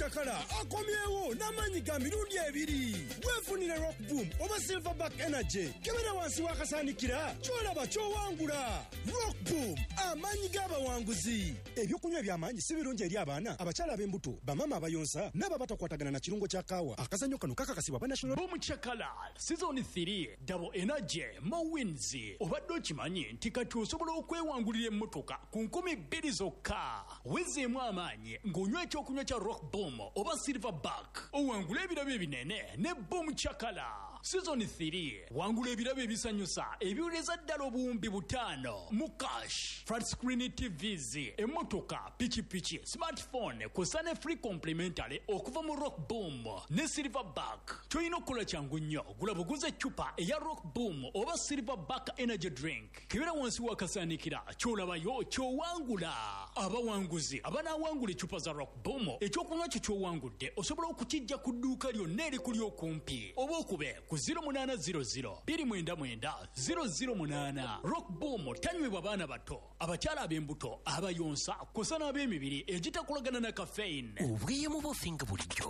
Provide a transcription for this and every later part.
Chakala akomyewo n'amaanyi ga mirundi ebiri. Weefunire Rock Boom oba Silverback Energy. Kebera wansi w'akasaanikira ky'olaba ky'owangula. Rock Boom, amaanyi g'abawanguzi. Ebyokunywa eby'amaanyi si birungi eri abaana, abakyala ab'embuto, bamaama abayonsa n'abo abatakwatagana na kirungo kya kaawa. Akazannyo kano kakakasibwa aba National. Boom Chakala Season 3 Double Energy More Wins. Obadde okimanyi nti kati osobola okwewangulira emmotoka ku 2000 zokka. Wezeemu amaanyi ng'onywa ekyokunywa kya Rock Boom oba Silverback. Owangula ebirabo ebinene ne Boom Chakala Season 3. Wangula ebirabo ebisanyusa ebiwereza ddala obuwumbi 5 mu cash, flat screen TVs, emmotoka, pikipiki, smartphone kw'ossa ne free complimentary okuva mu Rock Boom ne Silverback. Ky'olina okukola kyangu nnyo, gula buguzi eccupa eya Rock Boom oba Silverback Energy Drink. Kebera wansi w'akasaanikira ky'olabayo ky'owangula. Abawanguzi abanaawangula eccupa za Rock Boom, ekyokunywa kyo ky'owangudde osobola okukiggya ku dduuka lyonna erikuli okumpi oba okube ku 0800 299 008. Rock Boom tanywebwa baana bato, abakyala ab'embuto, abayonsa kw'ossa n'ab'emibiri egitakolagana na caffeine. Obweyamo bwaffe nga bulijjo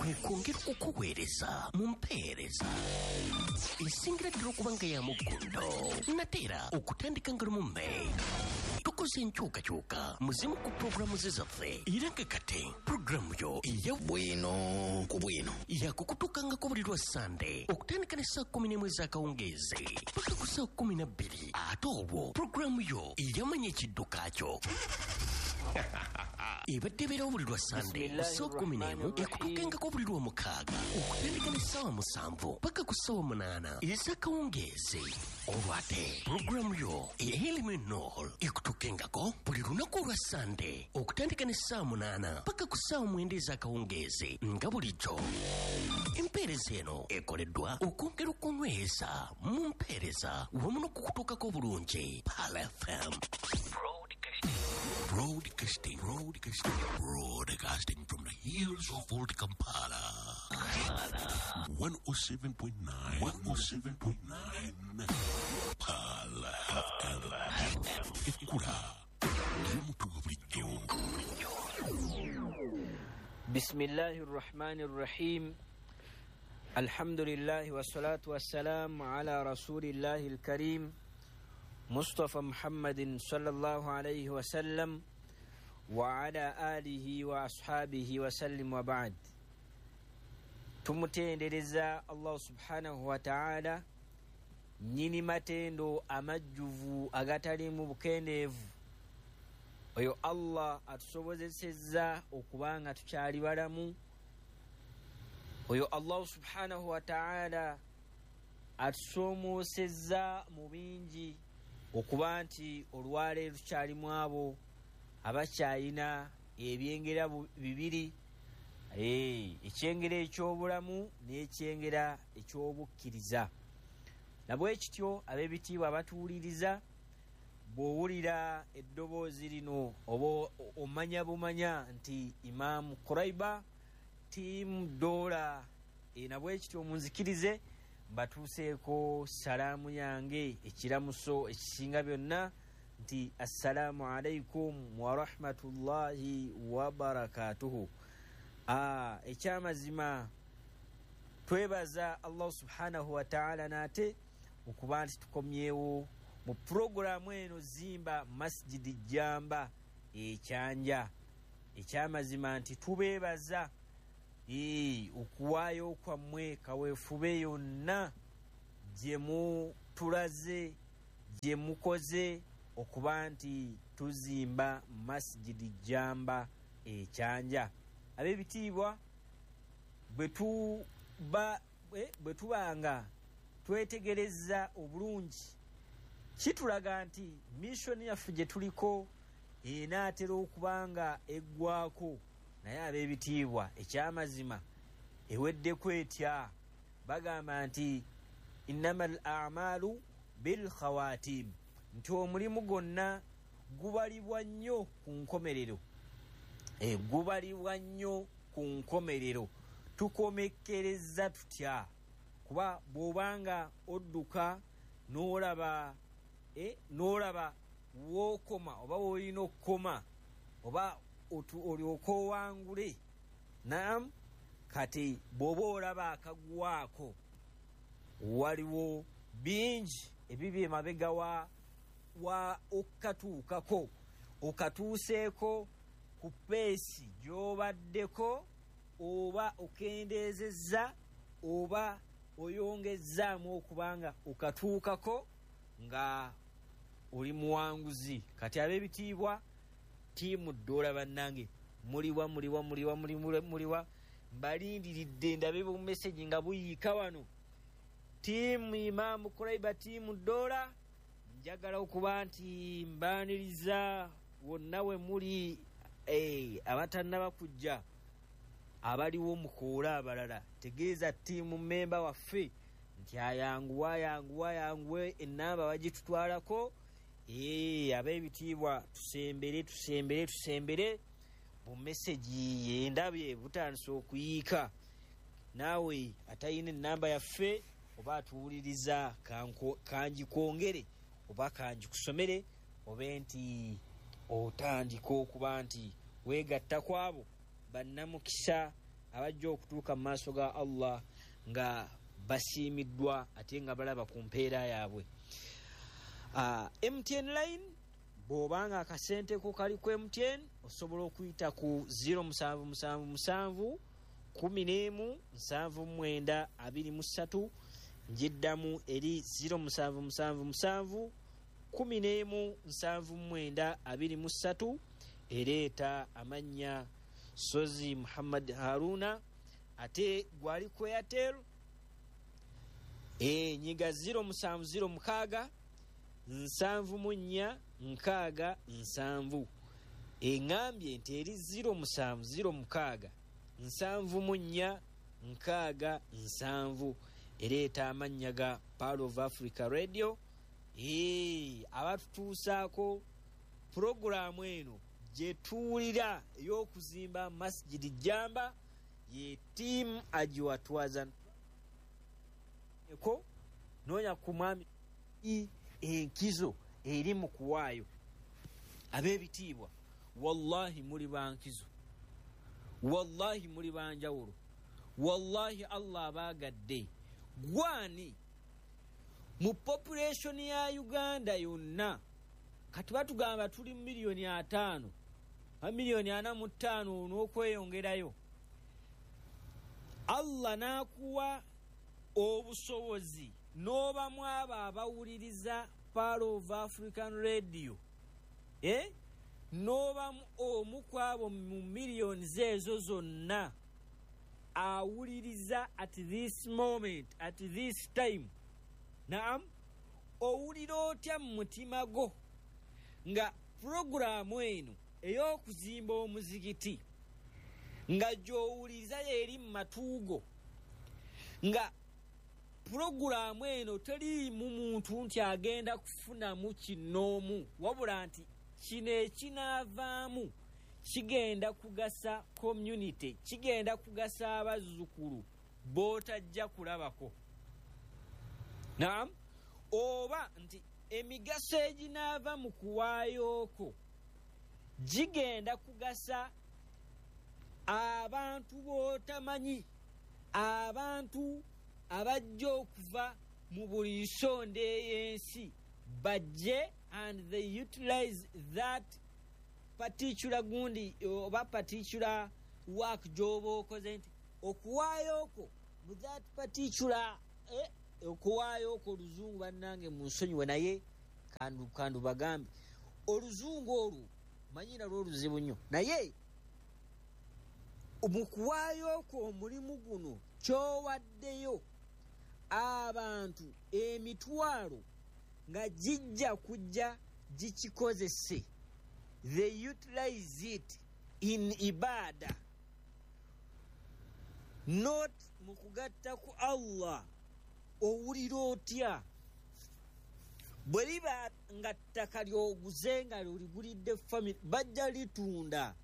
kwe kwongera okukuweereza mu mpeereza esingira ddala okuba nga ya muggundo nate era okutandika nga lumu May tukoze enkyukakyuka mu zimu ku pulogulaamu ze zaffe era nga kati pulogulaamu yo eya Bwino ku Bwino yakukutuukangako buli lwa Sande okutandika ne ssaawa 11 ez'akawungeezi paka ku ssaawa 12. Ate olwo pulogulaamu yo eyamanya ekidduka kyo ebadde ebeerawo buli lwa Sande ku ssaawa 11 ekutuukengako buli lwa mukaaga okutandika ne ssaawa 7 paka ku ssaawa 8 ez'akawungeezi. Olwo ate pulogulaamu yo ey'Elimu Ennol ekutuukengako buli lunaku olwa Sande okutandika ne ssaawa 8 paka ku ssaawa 9 ez'akawungeezi nga bulijjo. Empeereza eno ekoleddwa okwongera okunyweza mu mpeereza wamu n'okukutuukako obulungi. Pearl FM. Broadcasting, broadcasting, broadcasting from the hills of Old Kampala. 107.9, 107.9. Pearl FM. Ekkula ly'omuntu wa bulijjo. بسم الله الرحمن الرحيم. الحمد لله والصلاة والسلام على رسول الله الكريم مصطفى محمد صلى الله عليه وسلم وعلى آله وأصحابه وسلم وبعد. Tumutendereza Allah subhanahu wa ta'ala nnyini matendo amajjuvu agataliimu bukendeevu. Oyo Allah atusobozesezza okuba nga tukyali balamu. Oyo Allah subhanahu wa ta'ala atusoomoosezza mu bingi okuba nti olwaleero tukyalimu abo abakyalina ebyengera bibiri, ekyengera eky'obulamu n'ekyengera eky'obukkiriza. Nabwe kityo ab'ebitiibwa abatuwuliriza, bw'owulira eddoboozi lino oba omanya bumanya nti Imam Quraiba Team Dola. Nabwe kityo munzikirize mbatuuseeko salaamu yange, ekiramuso ekisinga byonna nti assalaamu alaikum warahmatullahi wabarakatuhu. Ekyamazima twebaza Allah subhanahu wa ta'ala nate okuba nti tukomyewo mu pulogulaamu eno Zimba Masjidi Jamba ekyanja. Ekyamazima nti tubeebaza okuwaayo kwammwe kaweefube yonna gye mutulaze, gye mukoze okuba nti tuzimba Masjidi Jamba ekyanja. Ab'ebitiibwa, bwe tubanga twetegereza obulungi kitulaga nti mission yaffe gye tuliko enaatera okuba nga eggwako. Naye ab'ebitiibwa ekyamazima eweddeko etya? Bagamba nti innamal a'malu bil khawatim, nti omulimu gwonna gubalibwa nnyo ku nkomerero. Gubalibwa nnyo ku nkomerero. Tukomekkereza tutya? Kuba bw'obanga odduka n'olaba n'olaba wookoma oba woolina okukoma oba Olyoke owangule. Naam, kati bw'oba olaba akaguwaako, waliwo bingi ebibi emabega wa okukatuukako. Okatuuseeko ku peesi gy'obaddeko, oba okendeezezza oba oyongezzaamu okubanga okatuukako nga oli muwanguzi. Kati ab'ebitiibwa, tiimu ddoola bannange, muliwa muliwa muliwa muliwa? Mbalindiridde ndabe bumesegi nga buyiika wano. Tiimu Imaamu Kuraiba, tiimu ddoola, njagala okuba nti mbaaniriza wonna we muli. Abatannaba kujja, abaliwo mukoole abalala, tegeeza tiimu memba waffe nti ayanguwa, ayanguwa, ayanguwe, enamba bagitutwalako. Ab'ebitiibwa, tusembere, tusembere, tusembere. Bumesegi yendabye butandise okuyiika. Naawe atayina enamba yaffe oba atuwuliriza, kangikwongere oba kangikusomere, obe nti otandika okuba nti weegatta ku abo bannamukisa abajja okutuuka mu maaso ga Allah nga basiimiddwa ate nga balaba ku mpeera yaabwe. MTN line, bw'obanga akasente ko kali ku MTN, osobola okuyita ku 0777 11 79 23. Njiddamu eri 0777 11 79 23, ereeta amannya Sozi Muhammad Haruna. Ate gwali ku Airtel, nyiga 0706 74 67. Eŋŋambye nti eri 0706 74 67, ereeta amannya ga Pearl of Africa Radio, abatutuusaako puroguraamu eno gye tuwulira ey'okuzimba Masjidi Jamba, ye tiimu agiwatwaza eko. Noonya ku mwami enkizo eri mu kuwaayo. Ab'ebitiibwa, wallahi muli bankizo, wallahi muli banjawulo, wallahi Allah abaagadde. Gwani mu population ya Uganda yonna, kati batugamba tuli 50 miliyoni, 45 miliyoni n'okweyongerayo, Allah n'akuwa obusobozi n'obamu abo abawuliriza Pearl of African Radio, n'obamu omu ku abo mu miliyoni ezo zonna awuliriza at this moment, at this time. Naam, owulira otya mu mutima gwo nga puroguraamu eno ey'okuzimba omuzigiti nga gy'owuliriza yeeri mu matuugo, nga puroguraamu eno teriimu muntu nti agenda kufunamu kinoomu, wabula nti kino ekinaavaamu kigenda kugasa community, kigenda kugasa abazzukulu b'otajja kulabako? Naam, oba nti emigaso eginaava mu kuwaayooko gigenda kugasa abantu b'otamanyi, abantu abajja okuva mu buli nsonda ey'ensi bajje and they utilize that particular gundi oba particular work gy'oba okoze, nti okuwaayooko mu that particular okuwaayooko? Oluzungu bannange munsonyiwe, naye kandu bagambe oluzungu olwo manyi nalwo oluzibu nnyo, naye mu kuwaayooko omulimu guno kyowaddeyo, abantu emitwalo nga gijja kujja gikikozese, they utilize it in ibada, not mu kugatta ku Allah. Owulira otya bwe liba nga ttaka lyoguze nga oligulidde family, bajja litunda,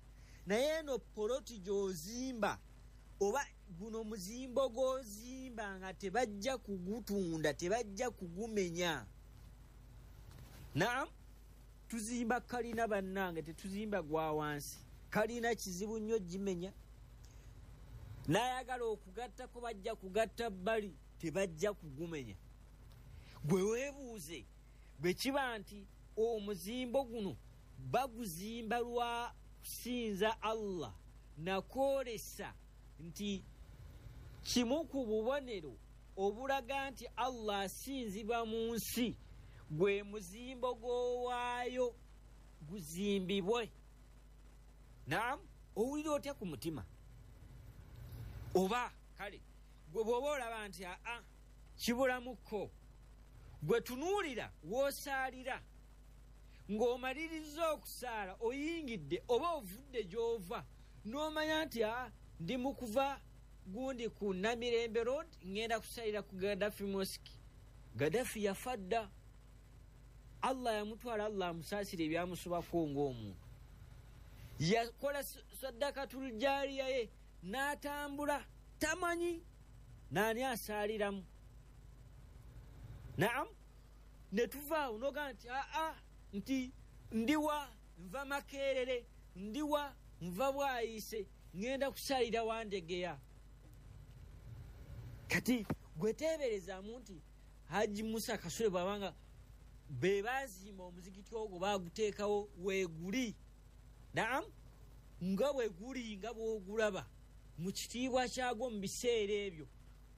naye eno poloti gy'ozimba oba guno muzimbo gw'ozimba nga tebajja kugutunda, tebajja kugumenya? Naam, tuzimba kalina bannange, tetuzimba gwa wansi. Kalina kizibu nnyo gimenya. N'ayagala okugattako bajja kugatta bbali, tebajja kugumenya. Gwe weebuuze bwe kiba nti omuzimbo guno baguzimba lwa kusinza Allah, nakwolesa nti kimu ku bubonero obulaga nti Allah asinzibwa mu nsi gwe muzimbo gw'owaayo guzimbibwe. Naam, owulira otya ku mutima? Oba kale gwe bw'oba olaba nti aa kibulamukko, gwe tunuulira w'osaalira ng'omaliriza okusaala oyingidde oba ovudde gy'ova n'omanya nti aa ndi mu kuva gundi ku Namirembe Road ngenda kusalira ku Gaddafi Mosque. Gaddafi yafa dda, Allah yamutwala, Allah amusaasira ebyamusobako ng'omuntu. Yakola saddakatul jaariya ye n'atambula, tamanyi naani asaaliramu. Naam, ne tuvaawo n'ogamba nti aa nti ndiwa nva Makerere, ndiwa nva Bwayise, ngenda kusalira Wandegeya. Kati gweteeberezaamu nti Haji Musa Kasule bw'abanga be baazimba omuzikiti ogwo baaguteekawo weeguli. Naam, nga bwe guli nga bw'ogulaba mu kitiibwa kyagwo mu biseera ebyo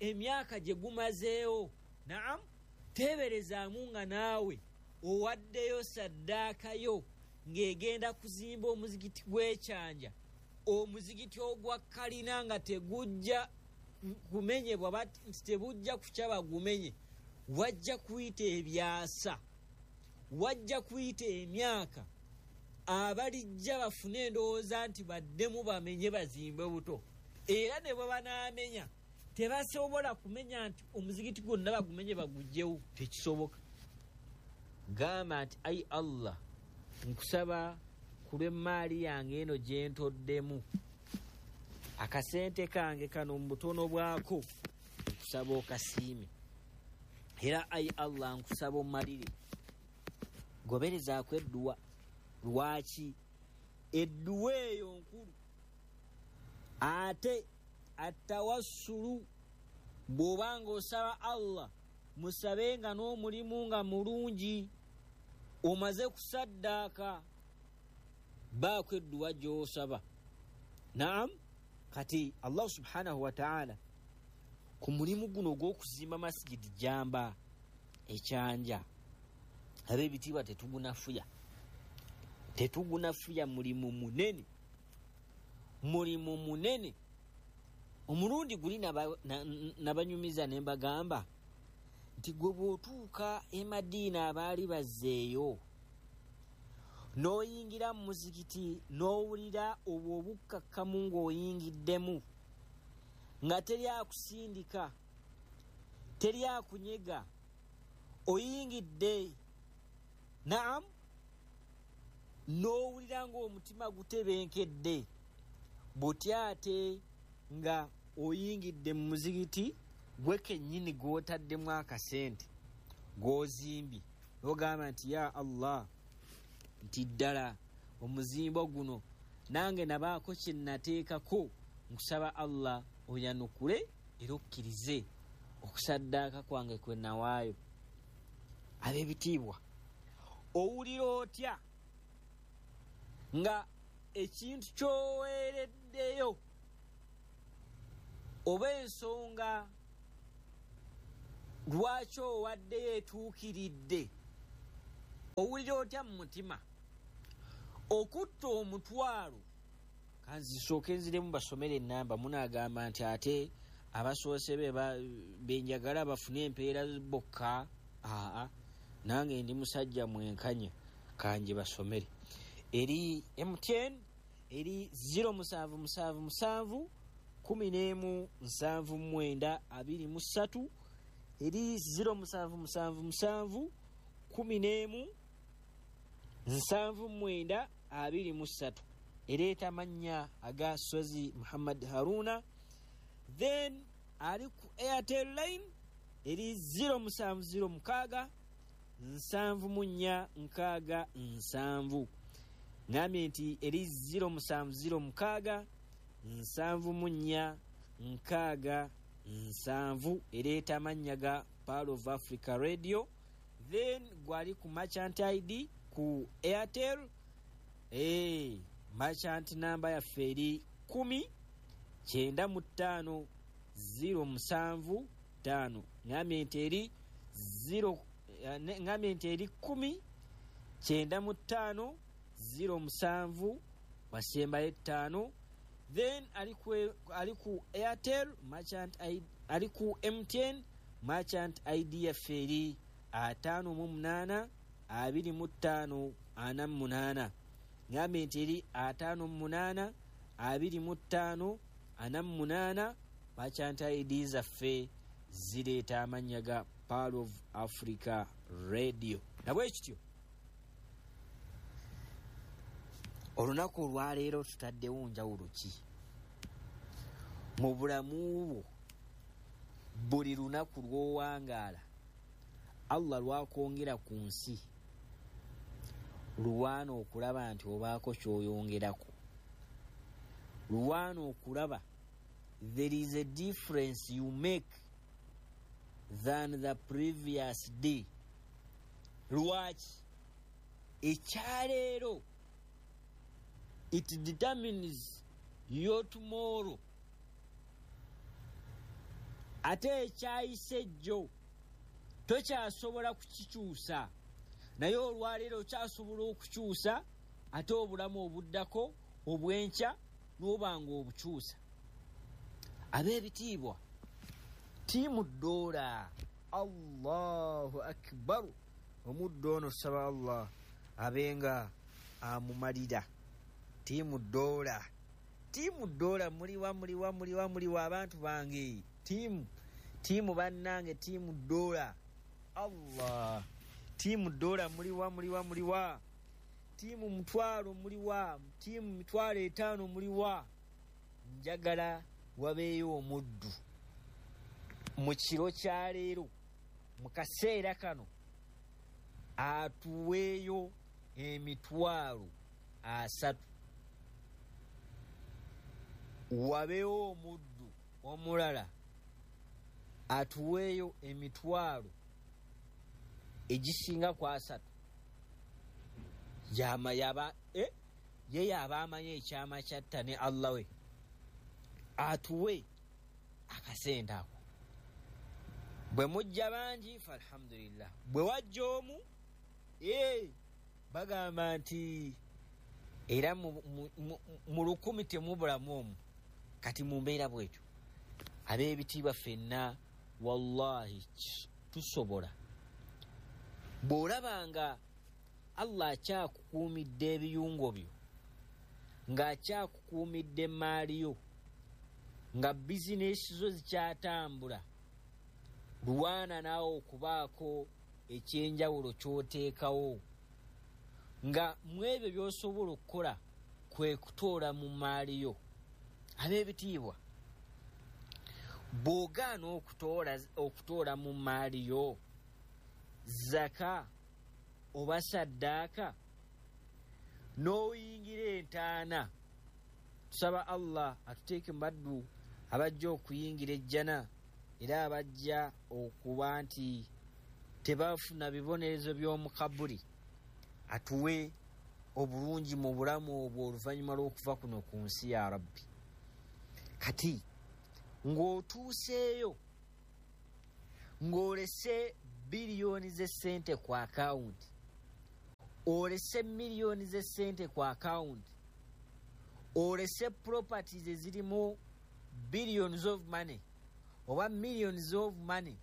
emyaka gye gumazeewo. Naam, teeberezaamu nga naawe owaddeyo saddaakayo ng'egenda kuzimba omuzikiti gw'ekyanja, omuzikiti ogwa kalina nga tegujja kumenyebwa, nti tebujja kukya bagumenye. Wajja kuyita ebyasa, wajja kuyita emyaka, abalijja bafune endowooza nti baddemu bamenye bazimbe buto. Era ne bwe banaamenya tebasobola kumenya nti omuzikiti gwonna bagumenye bagugyewo, tekisoboka. Gamba nti ayi Allah, nkusaba ku lw'emmaali yange eno gye ntoddemu, akasente kange kano mu butono bwako nkusaba okasiime. Era ayi Allah nkusaba ommalire. Goberezaako edduwa. Lwaki edduwa eyo nkulu? Ate atawassulu, bw'obanga osaba Allah musabe nga n'omulimu nga mulungi, omaze kusaddaaka, baako edduwa gy'osaba. Naam, kati Allah subhanahu wa ta'ala ku mulimu guno ogw'okuzimba masigidi jamba ekyanja, ab'ebitiibwa tetugunafuya, tetugunafuya. Mulimu munene, mulimu munene. Omulundi guli nabanyumiza ne mbagamba nti gwe bw'otuuka e Madiina abaali bazzeeyo n'oyingira mu muzikiti n'owulira obwo obukkakkamu ng'oyingiddemu, nga teri akusindika, teri akunyega, oyingidde. Naam, n'owulira ng'omutima gutebenkedde. Butya ate nga oyingidde mu muzikiti gwe kennyini gw'otaddemu akasente gw'ozimbye, n'ogamba nti ya Allah, nti ddala omuzimbo guno nange nabaako kye nateekako, nkusaba Allah oyanukule era okkirize okusaddaaka kwange kwe nawaayo. Ab'ebitiibwa, owulira otya nga ekintu ky'oweereddeyo oba ensonga lwaki owaddeyo etuukiridde? Owulira otya mu mutima? Okutta omutwalo, kanzisooke nziremu basomere ennamba. Munaagamba nti ate abasoose be benjagala bafune empeera bokka. Aa, nange ndi musajja mwenkanya, kanje basomere. Eri MTN eri 0777 11 79 23, eri 0777 11 79 23. Ereeta amannya aga Sozi Muhammad Haruna. Then ali ku Airtel line eri 0706 74 67. Ngambye nti eri 0706 74 6 7, ereeta amannya ga Pearl of Africa Radio. Then gwali ku merchant ID ku Airtel, merchant number yaffe eri 10 95 07 5. Ngambye nti eri 0, ngambye nti eri 10 95 07 wasembayo 5. Then ali ku Airtel merchant ID, ali ku MTN merchant ID yaffe eri 58 25 48. Ngambye nti eri 58 25 48. Merchant ID zaffe zireeta amannya ga Pearl of Africa Radio. Nabwe kityo olunaku olwaleero tutaddewo njawulo ki mu bulamu bwo? Buli lunaku lw'owangaala Allah lwakwongera ku nsi, lwana okulaba nti obaako ky'oyongerako, lwana okulaba there is a difference you make than the previous day. Lwaki? Ekyaleero it determines your tomorrow. Ate ekyayise jjo tokyasobola kukikyusa, naye olwaleero okyasobola okukyusa ate obulamu obuddako obwenkya n'obanga obukyusa. Ab'ebitiibwa, tiimu ddoola, Allahu akbar. Omuddo ono tusaba Allah abenga amumalira. Tiimu ddoola, tiimu ddoola, muliwa muliwa muliwa muliwa abantu bange, tiimu bannange, tiimu ddoola. Allah, tiimu ddoola muliwa muliwa muliwa, tiimu mutwalo muliwa, tiimu 50,000 muliwa. Njagala wabeeyo omuddu mu kiro kya leero, mu kaseera kano, atuweeyo 30,000. Wabeewo omuddu omulala atuweeyo 30,000 egisinga ku 30. Ye yaba amanyi ekyama kyatta ne Allah we, atuwe akasente ako. Bwe mujja bangi falhamdulillah, bwe wajja omu bagamba nti era mu 10,000 temubulamu omu. Kati mu mbeera bwetyo, ab'ebitiibwa ffenna wallahi tusobola. Bw'olaba nga Allah akyakukuumidde ebiyungo byo, ng'akyakukuumidde emaali yo, nga bizinesi zo zikyatambula, lwana naawe okubaako ekyenjawulo ky'oteekawo, nga mu ebyo by'osobola okukola kwe kutoola mu maali yo. Ab'ebitiibwa, bw'ogaana okutoola mu maali yo zaka oba saddaaka, n'oyingira entaana, tusaba Allah atuteeke mu baddu abajja okuyingira ejjana, era abajja okuba nti tebafuna bibonerezo by'omu kabuli, atuwe obulungi mu bulamu obwo oluvannyuma lw'okuva kuno ku nsi ya Rabbi. Kati ng'otuuseeyo ng'olese biliyoni z'essente ku akawunti, olese miliyoni z'essente ku akawunti, olese properties ezirimu billions of money oba millions of money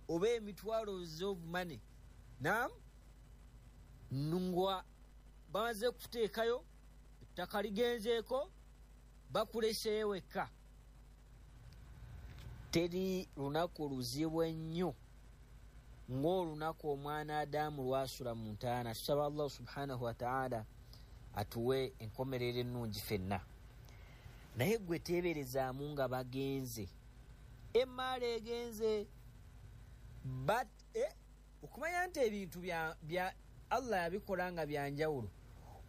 oba emitwalo of money, nam ngwa bamaze kuteekayo ettaka ligenzeeko, bakuleseeyo wekka. Teri lunaku luzibu ennyo ng'olunaku omwana Adamu lwasula mu ntaana. Tusaba Allah subhanahu wa ta'ala atuwe enkomerero ennungi ffenna. Naye gwe teeberezaamu nga bagenze, emaali egenze, but okumanya nti ebintu bya Allah yabikola nga byanjawulo.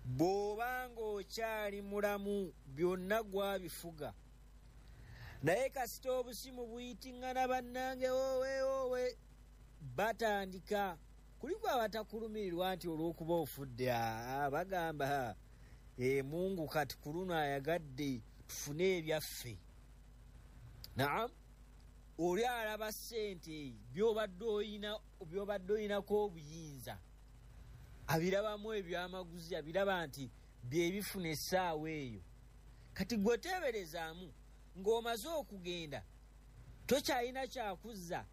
Bw'obanga okyali mulamu byonna gwabifuga, naye kasita obusimu buyitiŋŋana, bannange, owe owe, batandika kuliko abatakulumirirwa nti olw'okuba ofudde, bagamba Mungu kati ku luno ayagadde tufune ebyaffe. Naam, oli alaba ssente byobadde oyinako obuyinza, abirabamu ebyamaguzi, abiraba nti byebifuna essaawa eyo. Kati gwe teeberezaamu ng'omaze okugenda tokyalina kyakuzza,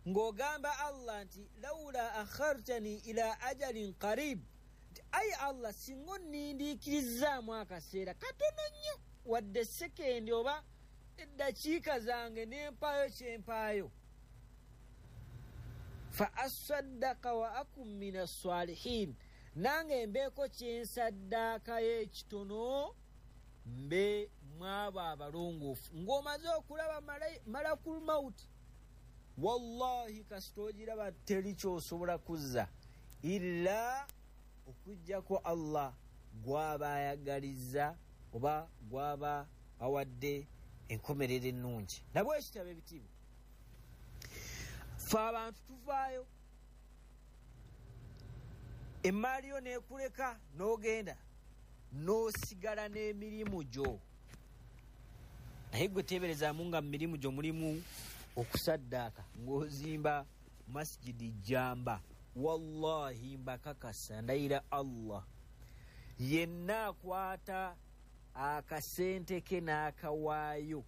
ng'ogamba Allah nti laula akhartani ila ajalin qarib, nti ayi Allah, singa onnindiikirizaamu akaseera katono nnyo, wadde sekendi oba eddakiika zange n'empaayo kyempaayo, fa asaddaka wa akum min assalihin, nange mbeeko kyensaddaakayo ekitono mbe mwabo abalongoofu. Ng'omaze okulaba malakul mauti, wallahi kasita ogiraba teri kyosobola kuzza illa okuggyako Allah gw'aba ayagalizza oba gw'aba awadde enkomerero ennungi. Nabwe ekitabo ebitiibwa, fe abantu tuvaayo emaali yo neekuleka n'ogenda n'osigala n'emirimu gyo, naye gwe teeberezaamu nga mu mirimu gyo mulimu okusaddaaka ng'ozimba masjidi jamba. Wallahi mbakakasa, ndayira Allah, yenna akwata akasente ke n'akawaayo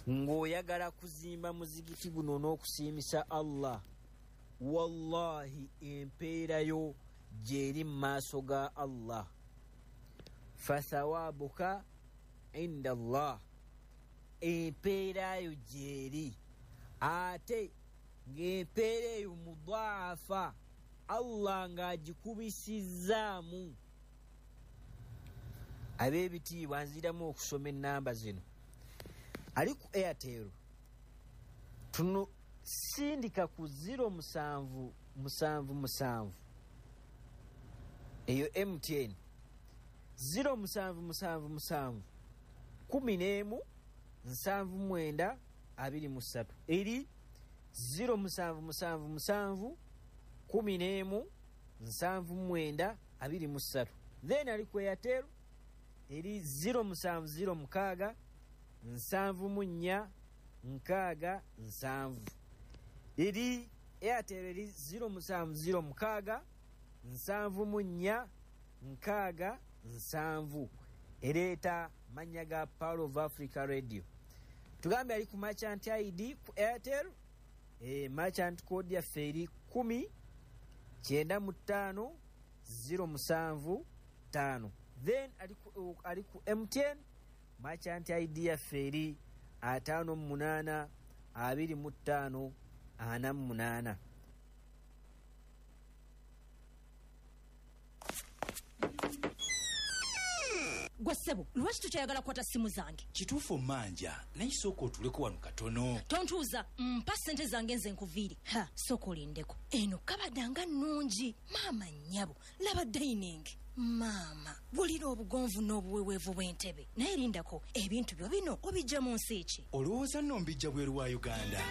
ng'oyagala kuzimba muzigiti guno n'okusiimisa Allah, wallahi empeerayo gyeri mu maaso ga Allah. Fathawabuka inda Allah, empeerayo gyeri, ate ng'empeera eyo mudaafa, Allah ng'agikubisizaamu. Ab'ebitiibwa, nziramu okusoma ennamba zino. Ali ku Airtel, tuno sindika ku 0777, eyo MTN 0777 11 79 23, eri 0777 11 79 23. Then ali ku Airtel eri 0706 74 67, eri Airtel eri 0706 74 67, ereeta mannya ga Power of Africa Radio. Tugambe ali ku merchant ID ku Airtel, merchant code yaffe eri 10 95 075. Then ali ku MTN, merchant ID yaffe eri 58 25 48. Gwe ssebo, lwaki tokyayagala kukwata simu zange? Kituufu manja, naye sooka otuleko wano katono. Tontuuza, mpa ssente zange nze nkuviire. Ha, sooka olindeko. Eno kabada nga nnungi. Maama nnyabo, laba dining. Maama, wulira obugonvu n'obuweweevu bw'entebe. Naye lindako, ebintu byo bino obijja mu nsi ki? Olowooza nno mbijja bweru wa Uganda?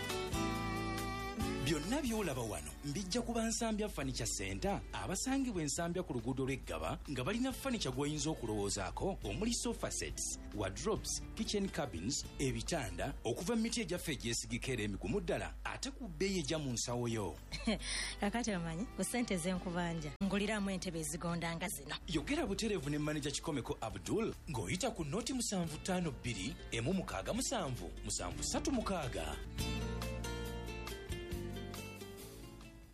Byonna by'olaba wano mbijja kuba Nsambya Furniture Center, abasangibwa Ensambya ku luguudo lw'Eggaba, nga balina furniture gw'oyinza okulowoozaako omuli sofa sets, wardrobes, kitchen cabins, ebitanda okuva mu miti egyaffe egyesigika era emigumu ddala, ate ku bbeeyi ejja mu nsawo yo. Kakati omanyi ku ssente z'enkubanja nguliramu entebe ezigonda nga zino. Yogera butereevu ne maneja Kikomeko Abdul ng'oyita ku noti 752 167 736.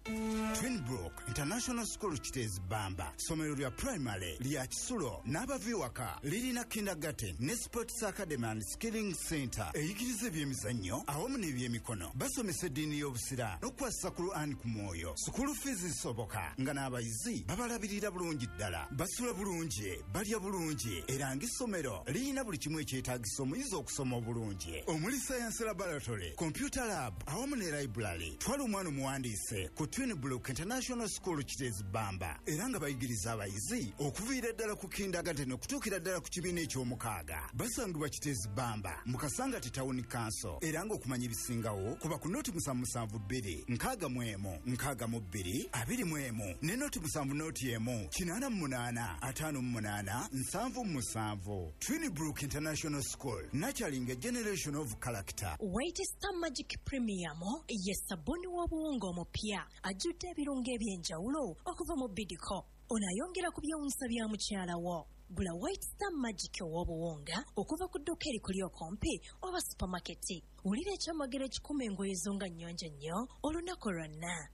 Twinbrook International School Kiteezi Bamba, ssomero lya primary lya kisulo n'abava ewaka, lirina kindergarten ne sports academy and skilling center eyigiriza ebyemizannyo awamu n'ebyemikono. Basomesa eddiini y'obusiraamu n'okukwasisa Quran ku mwoyo. Sukulu fees zisoboka nga n'abayizi babalabirira bulungi ddala, basula bulungi, balya bulungi, era ng'essomero lirina buli kimu ekyetaagisa omuyizi okusoma obulungi, omuli science laboratory, computer lab awamu ne library. Twala omwana omuwandiise ku Twinbrook Twinbrook International School Kiteezi Bamba, era nga bayigiriza abayizi okuviira ddala ku kindergarten okutuukira ddala ku kibiina eky'omukaaga. Basangibwa Kiteezi Bamba mu Kasangati Town Council, era ng'okumanya ebisingawo kuba ku noti 772 61 62 21 ne noti 7 noti 1 88 58 77. Twinbrook International School, nurturing a generation of character. White Star Magic Premium ye sabuni w'obuwunga omupya ajjudde ebirungo eby'enjawulo okuva mu Bidco. Ono ayongera ku byewuunyisa bya mukyala wo. Gula White Star Magic ow'obuwunga okuva ku dduuka erikuli okumpi oba supamaketi. Wulira ekyamagero ekikuma engoye zo nga nnyonjo nnyo olunaku lwonna.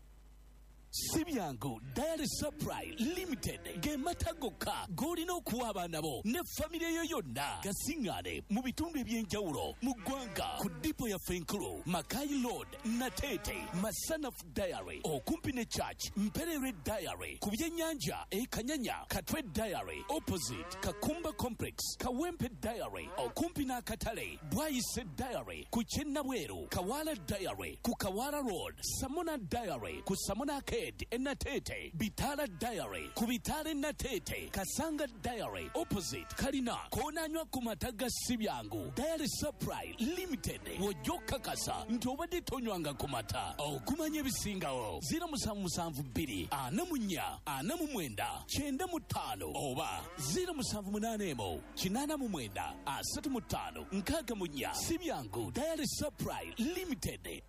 Si byangu Diary Supply Limited ge mata gokka g'olina okuwa abaana bo ne famire yo yonna. Gasiŋŋaane mu bitundu eby'enjawulo mu ggwanga ku dipo yaffe enkulu Makai Road, Nateete, Masanaf Diary, okumpi ne Church, Mpererwe Diary, ku byennyanja e Kanyanya, Katwe Diary, opposite Kakumba Complex, Kawempe Diary, okumpi n'akatale, Bwayise Diary, ku Kyennabweru, Kawala Diary, ku Kawala Road, Samona Diary, ku Samona Arcade e Nateete, Bitala Diary, ku Bitala e Nateete, Kasanga Diary, opposite Kalina, koonanywa ku mata ga si byangu. Diary Supply Limited, w'ojja okukakasa nti obadde tonywanga ku mata. Okumanya ebisingawo 0772 44 49 95 oba 0781 89 35 64. Si byangu Diary Supply Limited.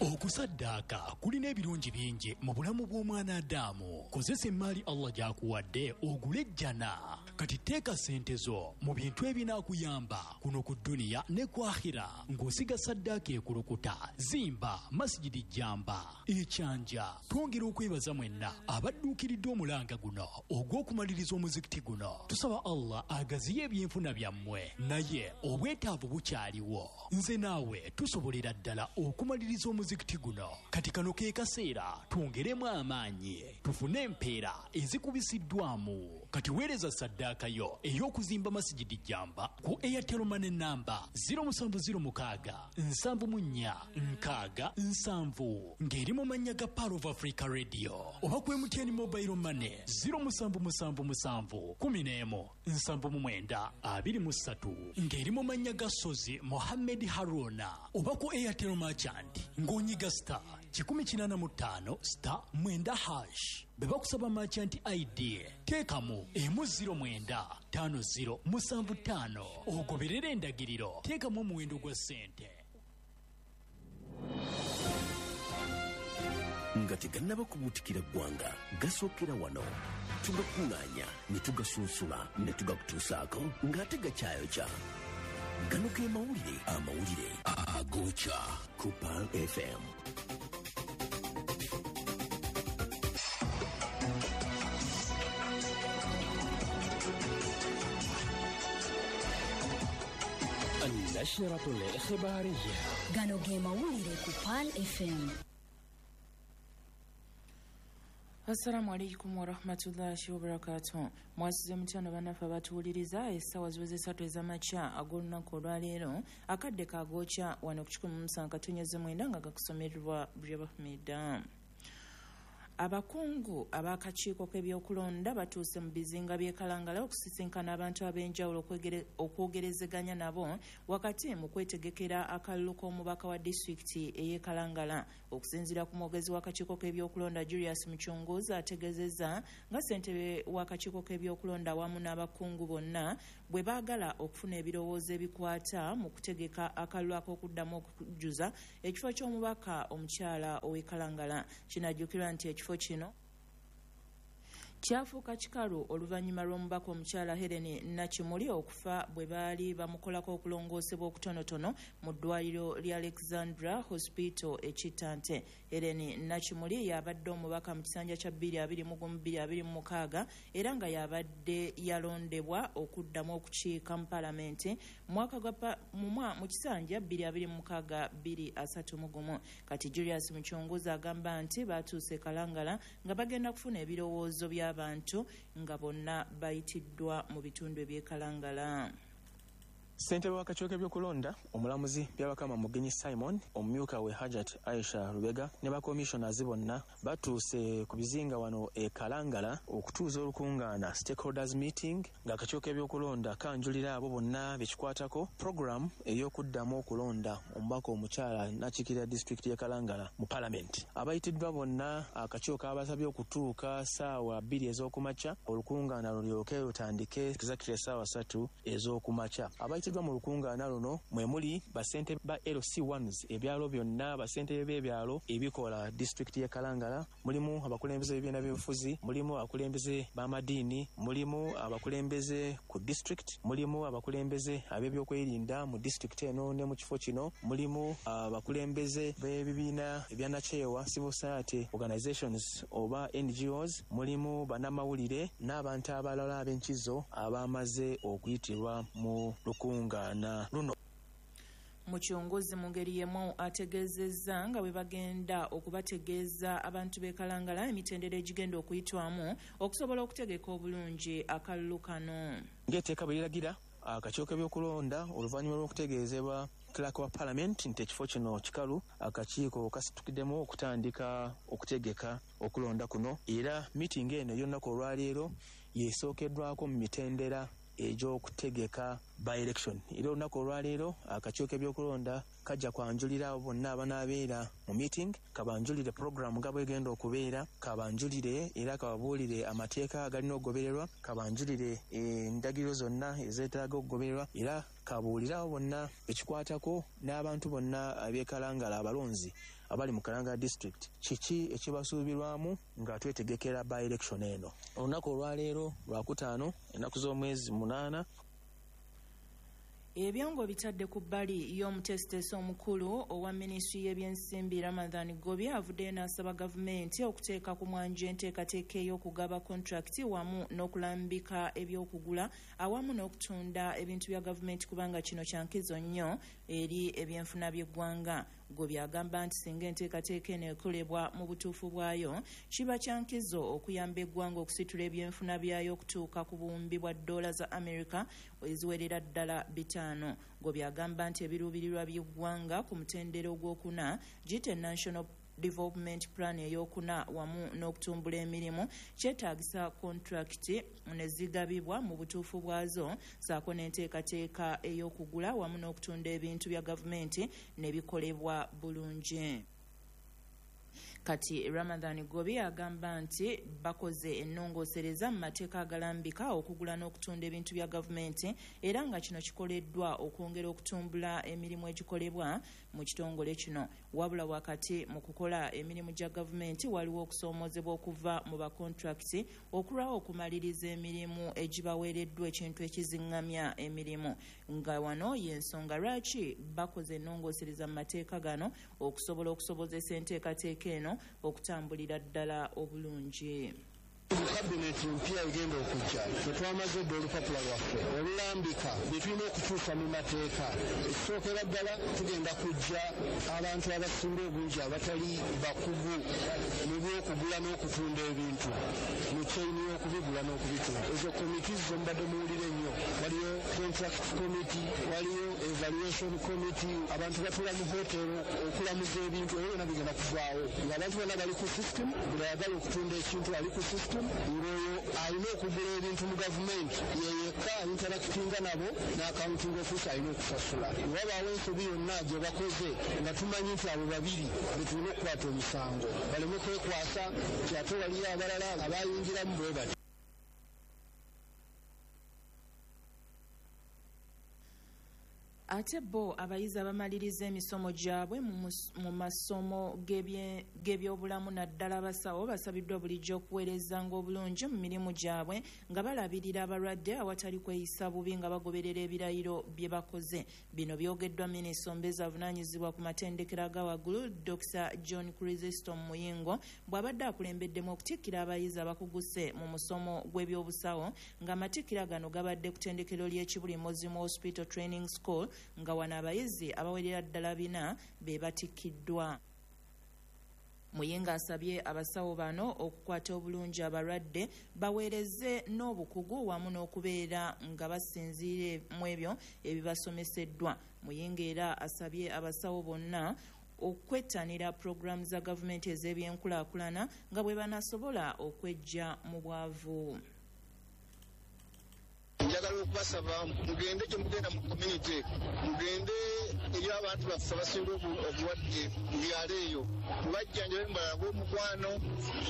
Okusaddaaka kulina ebirungi bingi mu bulamu bw'omwana Adamu. Kozesa emmaali Allah gy'akuwadde ogule ejjana. Kati teeka ssente zo mu bintu ebinaakuyamba kuno ku dduniya ne ku akhira, ng'osiga saddaaka ekulukuta, zimba masigidi jjamba ekyanja. Twongera okwebaza mwenna abadduukiridde omulanga guno ogw'okumaliriza omuzikiti guno. Tusaba Allah agaziye ebyenfuna byammwe, naye obwetaavu bukyaliwo. Nze naawe tusobolera ddala okumaliriza omuzikiti guno. Kati kano ke kaseera twongeremu amaanyi tufune empeera ezikubisiddwamu. Kati weereza saddaaka yo ey'okuzimba masigidi jjamba ku Airtel Money namba 0706 74 60 70 ng'eri mu mannya ga Pearl of Africa Radio, oba ku MTN Mobile Money 0777 11 79 23 ng'eri mu mannya ga Sozi Mohammed Haruna, oba ku Airtel Merchant ng'onyiga star 185 star 9 hash. Bwe bakusaba merchant ID teekamu 09 50 75 ogoberere endagiriro, teekamu omuwendo gwa ssente. Nga tegannaba kubuutikira ggwanga, gasookera wano. Tugakuŋŋaanya ne tugasunsula ne tugakutuusaako ng'ate gakyayokya. Gano ge mawulire, amawulire agokya ku Pearl FM. النشرة الإخبارية. Gano ge mawulire ku Pearl FM. Assalamu alaikum warahmatullahi wabarakatuh. Mwasize mutano bannaffe abatuwuliriza, essaawa ziweze 3 ez'amakya ag'olunaku olwaleero, akadde kagookya wano ku 107.9 nga gakusomerwa Brabahmida. Abakungu ab'akakiiko k'ebyokulonda batuuse mu bizinga by'e Kalangala okusisinkana abantu ab'enjawulo okwogerezeganya nabo wakati mu kwetegekera akalulu k'omubaka wa disitulikiti ey'e Kalangala. Okusinziira ku mwogezi w'akakiiko k'ebyokulonda Julius Muchunguzi, ategeezezza nga ssentebe w'akakiiko k'ebyokulonda awamu n'abakungu bonna bwe baagala okufuna ebirowoozo ebikwata mu kutegeka akalulu ak'okuddamu okujjuza ekifo ky'omubaka omukyala ow'e Kalangala. Kinajjukirwa nti ekifo kino kyafuuka kikalu oluvannyuma lw'omubaka omukyala Helen Nakimuli okufa bwe baali bamukolako okulongoosebwa okutonotono mu ddwaliro lya Alexandra Hospital e Kitante. Helen Nakimuli yabadde omubaka mu kisanja kya 2021-2026 era nga yabadde yalondebwa okuddamu okukiika mu palamenti mwaka gwa mu kisanja 2026-2031. Kati Julius Muchunguzi agamba nti batuuse Kalangala nga bagenda kufuna ebirowoozo by'abantu nga bonna bayitiddwa mu bitundu eby'e Kalangala. Ssentebe w'akakiiko k'ebyokulonda omulamuzi Byabakama Mugenyi Simon, omumyuka we Hajat Aisha Lubega ne bakomishonazi bonna batuuse ku bizinga wano e Kalangala okutuuza olukungaana stakeholders meeting, ng'akakiiko k'ebyokulonda kanjulira abo bonna bekikwatako program ey'okuddamu okulonda omubaka omukyala n'akiikirira disitulikiti y'e Kalangala mu palamenti. Abayitiddwa bonna akakiiko kabasabye okutuuka ssaawa 2 ez'okumakya, olukungaana lulyoke lutandike exactly essaawa 3 ez'okumakya. Abayitiddwa mu lukungaana luno mwe muli bassentebe ba LC1s ebyalo byonna, bassentebe b'ebyalo ebikola disitulikiti y'e Kalangala, mulimu abakulembeze b'ebibiina by'obufuzi, mulimu abakulembeze b'amadiini, mulimu abakulembeze ku disitulikiti, mulimu abakulembeze ab'ebyokwerinda mu disitulikiti eno ne mu kifo kino, mulimu abakulembeze b'ebibiina ebyanakyewa civil society organizations oba NGOs, mulimu bannamawulire n'abantu abalala ab'enkizo abamaze okuyitirwa mu lukungaana luno. Mukyongozi mu ngeri y'emu ategeezezza nga bwe bagenda okubategeeza abantu b'e Kalangala emitendera egigenda okuyitwamu okusobola okutegeka obulungi akalulu kano. Ng'etteeka bwe liragira, akakiiko k'ebyokulonda oluvannyuma lw'okutegeezebwa clerk wa parliament nti ekifo kino kikalu, akakiiko kasitukiddemu okutandika okutegeka okulonda kuno, era meeting eno ey'olunaku olwaleero yesookeddwako mu mitendera egy'okutegeka by election. Era olunaku olwaleero akakiiko k'ebyokulonda kajja kwanjulira abo bonna abanaabeera mu meeting, kabanjulire program nga bwegenda okubeera, kabanjulire era kababuulire amateeka agalina okugobererwa, kabanjulire endagiriro zonna ezeetaaga okugobererwa, era kabuulire abo bonna ekikwatako n'abantu bonna ab'e Kalangala abalonzi abali mu Kalangala district kiki ekibasuubirwamu nga twetegekera by election eno. Olunaku olwaleero Lwakutaano, ennaku z'omwezi 8. Ebyongo bitadde ku bbali y'omutesiteesi omukulu owa minisitule y'ebyensimbi Ramadhan Gobi avuddeyo n'asaba gavumenti okuteeka ku mwanjo enteekateeka ey'okugaba kontrakiti wamu n'okulambika ebyokugula awamu n'okutunda ebintu bya gavumenti, kubanga kino kya nkizo nnyo eri ebyenfuna by'eggwanga. Gobi agamba nti singa enteekateeka eno ekolebwa mu butuufu bwayo, kiba kya nkizo okuyamba eggwanga okusitula ebyenfuna byayo okutuuka ku buwumbi bwa ddoola za Amerika eziwerera ddala 5. Gobi agamba nti ebiruubirirwa by'eggwanga ku mutendera ogwokuna giyite National Development Plan eyokuna wamu n'okutumbula emirimu kyetaagisa kontrakiti ne zigabibwa mu butuufu bwazo, ssaako n'enteekateeka ey'okugula wamu n'okutunda ebintu bya gavumenti ne bikolebwa bulungi. Kati Ramadhan Gobi agamba nti bakoze ennongoosereza mu mateeka agalambika okugula n'okutunda ebintu bya gavumenti, era nga kino kikoleddwa okwongera okutumbula emirimu egikolebwa mu kitongole kino. Wabula wakati mu kukola emirimu gya gavumenti waliwo okusoomoozebwa okuva mu bakontrakiti okulwawo okumaliriza emirimu egibaweereddwa, ekintu ekiziŋŋamya emirimu, nga wano y'ensonga lwaki bakoze ennongoosereza mu mateeka gano okusobola okusobozesa enteekateeka eno okutambulira ddala obulungi. Kabineti mpya egenda okujja, tetwamaze dda olupapula lwaffe olulambika bye tulina okukyusa mu mateeka. Ekisookera ddala tugenda kujja abantu abasinga obungi abatali bakugu mu by'okugula n'okutunda ebintu mu chain y'okubigula n'okubitunda. Ezo komiti zo mubadde muwulire nnyo, waliyo contract committee, waliyo evaluation committee, abantu batuula mu hotel okulamuza ebintu, ebyo byonna bigenda kuvaawo ng'abantu bonna bali ku system. Buli ayagala okutunda ekintu ali ku system, ng'oyo alina okugula ebintu mu gavumenti ye yekka interactinga nabo, n'accounting officer alina okusasula. Wabaawo ensobi yonna gye bakoze nga tumanyi nti abo babiri be tulina okukwata omusango, baleme kwekwasa nti ate waliyo abalala abayingiramu bwe bati. Ate bo abayizi abamaliriza emisomo gyabwe mu masomo g'ebyobulamu naddala abasawo basabiddwa bulijjo okuweerezanga obulungi mu mirimu gyabwe nga balabirira abalwadde awatali kweyisa bubi nga bagoberera ebirayiro bye bakoze. Bino byogeddwa minisita omubeezi avunaanyizibwa ku matendekero aga waggulu Dr. John Chrysostom Muyingo bw'abadde akulembeddemu okutikkira abayizi abakuguse mu musomo gw'ebyobusawo, ng'amatikkira gano gabadde ku ttendekero ly'e Kibuli Mozimu Hospital Training School, nga wano abayizi abawerera ddala 4 be batikkiddwa. Muyinga asabye abasawo bano okukwata obulungi abalwadde, baweereze n'obukugu wamu n'okubeera nga basinziire mu ebyo ebibasomeseddwa. Muyinga era asabye abasawo bonna okwettanira pulogulaamu za gavumenti ez'ebyenkulaakulana nga bwe banasobola okweggya mu bwavu. Njagala okubasaba mugende gye mugenda mu community, mugende eri abantu baffe abasinga obulwadde mu byalo eyo, mubajjanjabe, mubalage omukwano.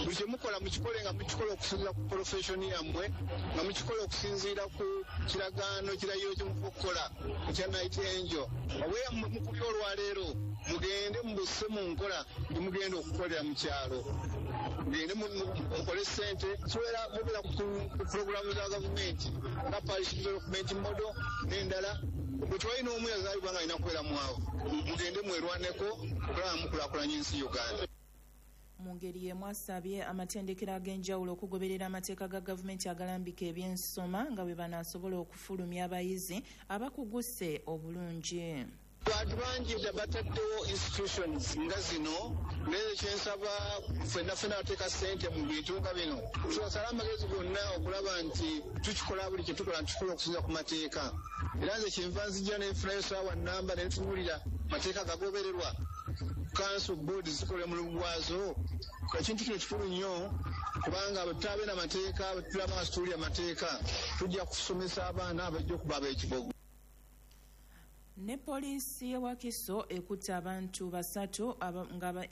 Buli kye mukola mukikole nga mukikola okusinziira ku profession yammwe, nga mukikola okusinziira ku kiragaano kirayiro kye muva okukola ekya Night Angel. Obweyammwe mukubye olwaleero, mugende mubusse mu nkola gye mugenda okukolera mu kyalo, mugende mukole ssente kiwera mubeera ku pulogulaamu za gavumenti nga Parish Development Model n'endala. Bwe twalina omu yazaalibwa nga alina kubeera mwavu. Mugende mwerwaneko okulaba mukulaakulanya ensi Uganda. Mu ngeri y'emu asabye amatendekero ag'enjawulo okugoberera amateeka ga gavumenti agalambika ebyensoma nga bwe banaasobola okufulumya abayizi abakuguse obulungi. Bantu bangi bataddewo institutions nga zino, naye kyensaba ffenna ffenna bateeka ssente mu bintu nga bino, tubasale amagezi gonna okulaba nti tukikola buli kye tukola tukikola okusinziira ku mateeka. Era nze kyenva nzijja nenfunayo saawa nnamba ne ntunuulira mateeka gagobererwa, council board zikola omulimu gwazo. Ekintu kino kikulu nnyo kubanga bwe tutaabe na mateeka, bwe tulaba nga situwulira mateeka, tujja kusomesa abaana abajja okuba ab'ekibogo. Ne poliisi y'e Wakiso ekutte abantu basatu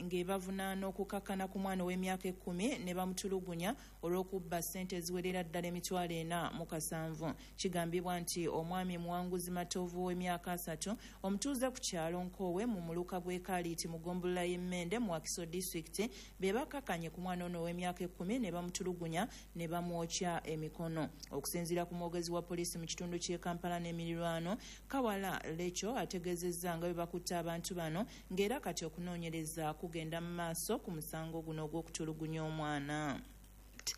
ng'ebavunaana okukakkana ku mwana ow'emyaka 10 ne bamutulugunya olw'okubba ssente eziwerera ddala 407,000. Kigambibwa nti omwami Muwanguzi Matovu ow'emyaka 30 omutuuze ku kyalo Nkoowe mu muluka gw'e Kaliiti mu ggombolola y'e Mmende mu Wakiso disitulikiti be bakkakkanye ku mwana ono ow'emyaka 10 ne bamutulugunya ne bamwokya emikono. Okusinziira ku mwogezi wa poliisi mu kitundu ky'e Kampala n'emirirwano, Kawala Lecho ategeezezza nga bwe bakutte abantu bano ng'era kati okunoonyereza kugenda mu maaso ku musango guno ogw'okutulugunya omwana.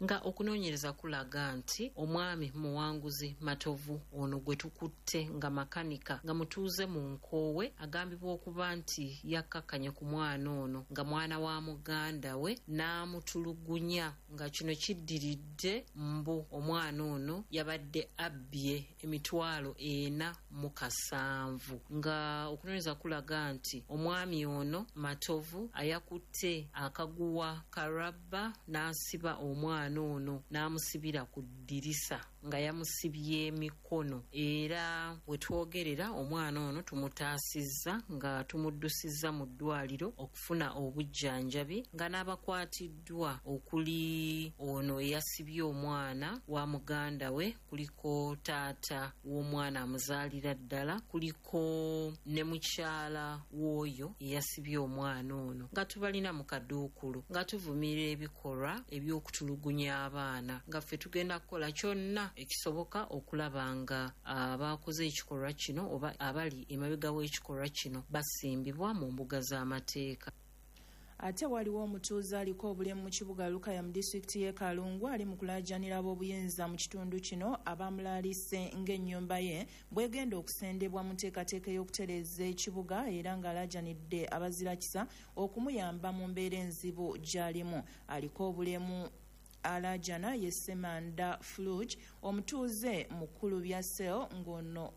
Nga okunoonyereza kulaga nti omwami Muwanguzi Matovu ono gwe tukutte nga makanika nga mutuuze mu Nkoowe agambibwa okuba nti yakkakkanye ku mwana ono nga mwana wa muganda we n'amutulugunya, nga kino kiddiridde mbu omwana ono yabadde abbye 407,000. Nga okunoonyereza kulaga nti omwami ono Matovu ayakutte akaguwa ka rabba n'asiba omwana ono n'amusibira ku ddirisa nga yamusibye emikono, era we twogerera omwana ono tumutaasizza nga tumuddusizza mu ddwaliro okufuna obujjanjabi, nga n'abakwatiddwa okuli ono eyasibye omwana wa muganda we, kuliko taata w'omwana amuzaalira ddala, kuliko ne mukyala w'oyo eyasibye omwana ono, nga tubalina mu kaduukulu nga tuvumirira ebikolwa eby'okutulugunya abaana, nga ffe tugenda kukola kyonna ekisoboka okulaba nga abakoze ekikolwa kino oba abali emabega w'ekikolwa kino basimbibwa mu mbuga z'amateeka. Ate waliwo omutuuze aliko obulemu mu kibuga Lukaya mu disitulikiti y'e Kalungu ali mu kulaajanira ab'obuyinza mu kitundu kino abamulaalise ng'ennyumba ye bw'egenda okusendebwa mu nteekateeka ey'okutereeza ekibuga, era ng'alaajanidde abazirakisa okumuyamba mu mbeera enzibu gy'alimu. Aliko obulemu alaajana ye Ssemanda Fluge omutuuze mukulu bya sel ng'ono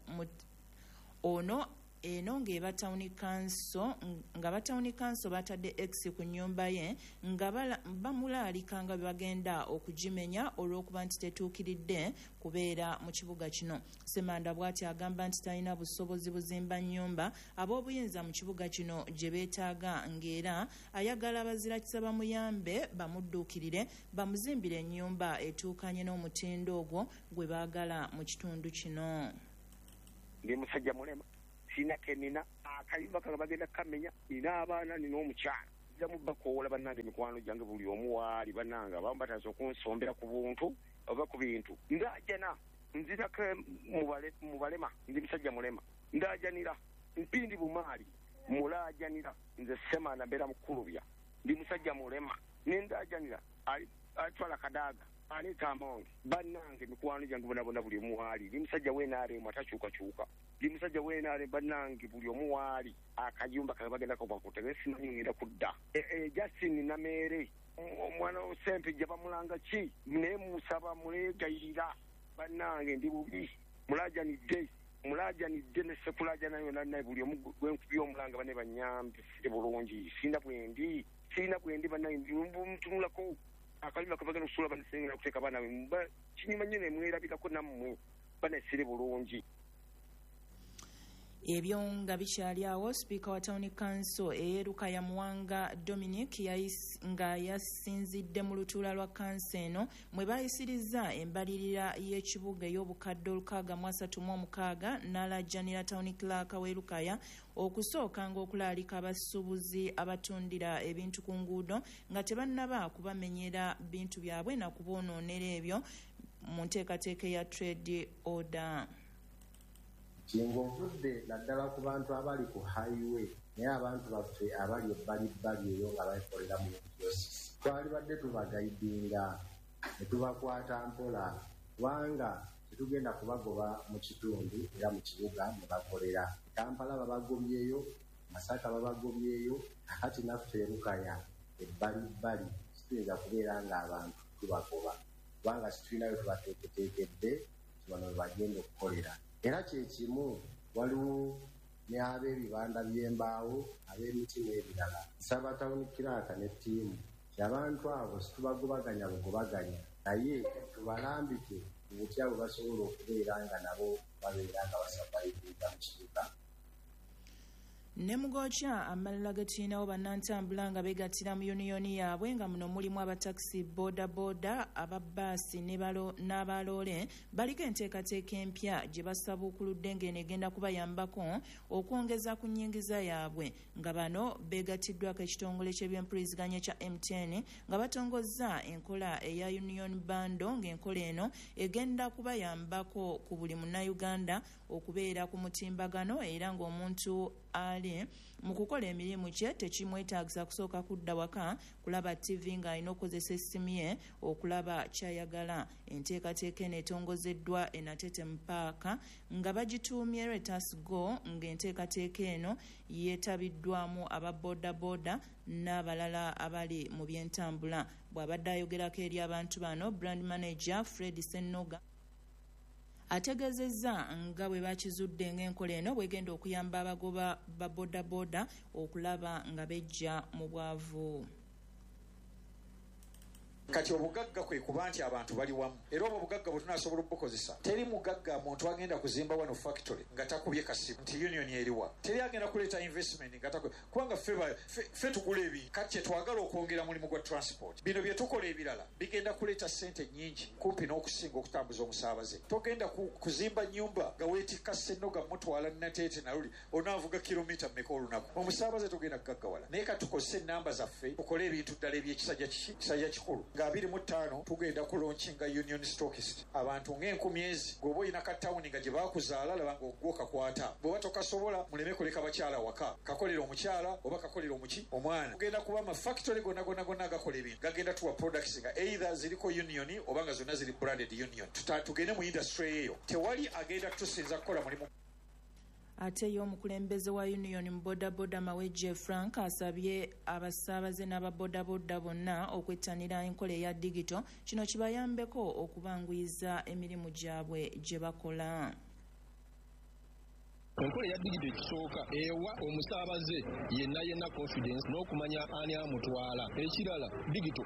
ono eno ng'eba town council, nga ba town council batadde X ku nnyumba ye nga bamulaalika nga bwe bagenda okugimenya olw'okuba nti tetuukiridde kubeera mu kibuga kino. Ssemanda bw'ati agamba nti talina busobozi buzimba nnyumba ab'obuyinza mu kibuga kino gye beetaaga, ng'era ayagala abazirakisa bamuyambe bamudduukirire bamuzimbire ennyumba etuukanye n'omutindo ogwo gwe baagala mu kitundu kino. Ndi musajja mulema, sina kenina akayumba kange bagenda kamenya, nina abaana nina omukyala nziramu bakoola bannange mikwano gyange buli omu waali bannange abamu batandise okunsombera ku buntu oba ku bintu. Ndaajana nzirako mu balema, ndi musajja mulema, ndaajanira mpindi bumaali mulaajanira nze Ssemanda mbeera Mukulubya, ndi musajja mulema ne ndaajanira Atwala Kadaga Anita Among, bannange mikwano gyange bonabona buli omu waali. Ndi musajja w'NRM atakyukakyuka, ndi musajja w'NRM bannange buli omu waali. Akayumba kange bagenda kubakuta naye simanyi ngenda kudda. Justin Nameere omwana Sempejja bamulanga ki, naye musaba muleegayirira bannange, ndi bubi, mulajanidde mulajanidde ne sekulajana yonna naye buli omu gwenkubye omulanga bane banyambe sire bulungi, sirina bwendi, sirina bwendi bannange, mutunulako akayumba kebagenda okusula banisengera okuteeka abaana be kinyuma nnyo nemwerabirako nammwe banesire bulungi. Ebyo nga bikyali awo, sipiika wa Town Council ey'e Lukaya Muwanga Dominic nga yasinzidde mu lutuula lwa kanso eno mwe baayisirizza embalirira y'ekibuga ey'obukadde 636 n'alajjanira Town Clerk w'e Lukaya okusookanga okulaalika abasuubuzi abatundira ebintu ku nguudo nga tebannaba kubamenyera bintu byabwe na kuboonoonera ebyo mu nteekateeka eya trade order. Kingovudde naddala ku bantu abali ku highway, naye abantu baffe abali ebbalibbali eyo nga bakolera mu kiosks twalibadde tubagaidinga ne tubakwata mpola, kubanga tetugenda kubagoba mu kitundu era mu kibuga mwe bakolera. Kampala babagobyeyo, Masaka babagobyeyo, kakati naffe Lukaya ebbalibbali situyinza kubeera ng'abantu tubagoba, kubanga situlinayo tubateeketeekedde bano bwe bagenda okukolera. Era kye kimu waliwo ne ab'ebibanda by'embaawo, ab'emiti n'ebirala. Nsaba Town Clerk ne ttiimu nti abantu abo situbagobaganya bugobaganya, naye tubalambike ku butya bwe basobola okubeera nga nabo babeera nga basavayibinga mu kibuga. Ne mugokya amalala ge tulinawo bannantambula nga beegattira mu yuniyoni yaabwe nga muno mulimu abatakisi, bodaboda, ababbaasi n'abaloole baliko enteekateeka empya gye basabuukuludde ng'eno egenda kubayambako okwongeza ku nnyingiza yaabwe, nga bano beegattiddwako ekitongole ky'ebyempuliziganya ekya MTN nga batongozza enkola eya Union Bundle, ng'enkola eno egenda kubayambako ku buli munnayuganda okubeera ku mutimbagano era ng'omuntu ali mu kukola emirimu kye tekimwetaagisa kusooka kudda waka kulaba TV ng'alina okukozesa essimu ye okulaba ky'ayagala. Enteekateeka eno etongozeddwa e Natete mu paaka nga bagituumye Let Us Go, ng'enteekateeka eno yeetabiddwamu aba bodaboda n'abalala abali mu by'entambula. Bw'abadde ayogerako eri abantu bano, brand manager Fred Sennoga ategeezezza nga bwe bakizudde ng'enkola eno bwegenda okuyamba abagoba ba bodaboda okulaba nga bejja mu bwavu. Kati obugagga kwe kuba nti abantu bali wamu, era obwo obugagga bwe tunaasobola obukozesa. Teri mugagga muntu agenda kuzimba wano factory nga takubye kasimu nti union eriwa. Teri agenda kuleeta investment nga takubye, kubanga ffe tugula ebintu. Kati kye twagala okwongera mulimu gwa transport. Bino bye tukola ebirala bigenda kuleeta ssente nnyingi kumpi n'okusinga okutambuza omusaabaze. Togenda kuzimba nnyumba nga weetikka Ssennoga mutwala Nateete naluli onaavuga kilomita mmeka olunaku. Omusaabaze togenda kugaggawala. Naye kati tukozese ennamba zaffe tukole ebintu ddala eby'ekisajja kiki kisajja kikulu. Nga 25 tugenda kulaunchinga Union Stockist. Abantu ng'enkumi ezi bw'oba olina ka tawuni nga gye baakuzaala laba ng'ogwo kakwata. Bw'oba tokasobola muleme kuleka bakyala waka, kakolera omukyala oba kakolera omuki omwana. Tugenda kuba ama factory gonna gonna gonna agakola ebintu gagenda tuwa products nga either ziriko union oba nga zonna ziri branded union. Tugende mu industry eyo, tewali agenda kutusinza kukola mulimu. Ate ye omukulembeze wa Union mu bodaboda Mawejje Frank asabye abasaabaze n'ababodaboda bonna okwettanira enkola eya digito, kino kibayambeko okubanguyiza emirimu gyabwe gye bakola. Enkola eya digito ekisooka ewa omusaabaze yenna yenna confidence n'okumanya ani amutwala. Ekirala, digito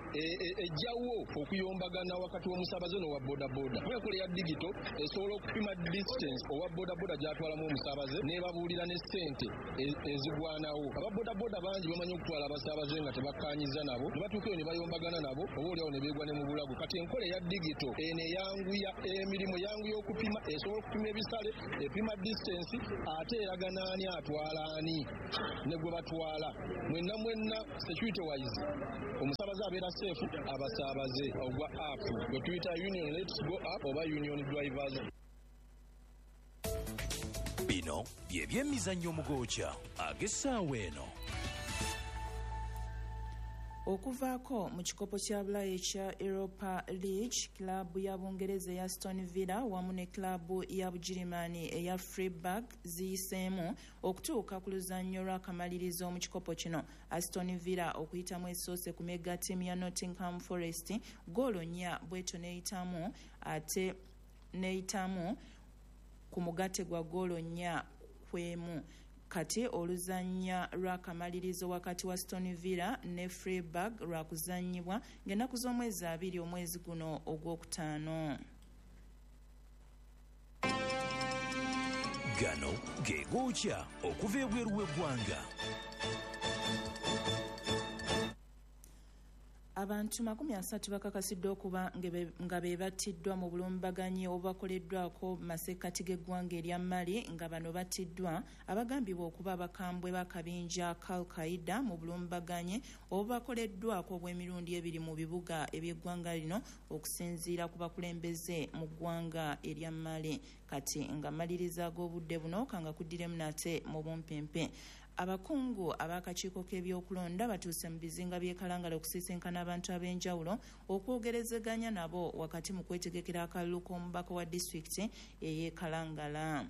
ejjawo okuyombagana wakati w'omusaabaze n'owa bodaboda. Kuba enkola eya digito esobola okupima distance owa bodaboda gy'atwalamu omusaabaze n'ebabuulira ne ssente ezigwanawo. Aba bodaboda bangi bamanyi okutwala abasaabaze nga tebakkaanyiza nabo, ne batuuka eyo ne bayombagana nabo oba oliawo ne beegwa ne mu bulago. Kati enkola eya digito eno eyanguya emirimu, eyanguya okupima, esobola okupima ebisale, epima distance, ate eraga n'ani atwala ani ne gwe batwala. Mwenna mwenna security wise omusaabaze abeera safe, abasaabaze ogwa app gwe tuyita Union Let's Go app oba Union Drivers. Bino bye by'emizannyo omugokya ag'essaawa eno. Okuvaako mu kikopo kya Bulaaya ekya Europa League, kilaabu ya Bungereza eya Aston Villa wamu ne kilaabu ya Bugirimaani eya Freiburg ziyiseemu okutuuka ku luzannyo lw'akamalirizo mu kikopo kino. Aston Villa okuyitamu esoose ku mega ttiimu ya Nottingham Forest goolo 4 bwetyo n'eyitamu ate n'eyitamu ku mugatte gwa goolo 4-1. Kati oluzannya lw'akamalirizo wakati wa Aston Villa ne Freiburg lwakuzannyibwa ng'ennaku z'omwezi 2 omwezi guno ogwokutaano. Gano ge gookya okuva ebweru w'eggwanga. Abantu 30 bakakasiddwa okuba nga be battiddwa mu bulumbaganyi obubakoleddwako masekkati g'eggwanga erya Mali, nga bano battiddwa abagambibwa okuba abakambwe b'akabinja ka Al-Qaeda mu bulumbaganyi obubakoleddwako obw'emirundi ebiri mu bibuga eby'eggwanga lino, okusinziira ku bakulembeze mu ggwanga erya Mali. Kati nga mmaliriza ag'obudde buno kanga kuddiremu nate mu bumpimpi. Abakungu ab'akakiiko k'ebyokulonda batuuse mu bizinga by'e Kalangala okusisinkana abantu ab'enjawulo okwogerezeganya nabo wakati mu kwetegekera akalulu k'omubaka wa disitulikiti ey'e Kalangala.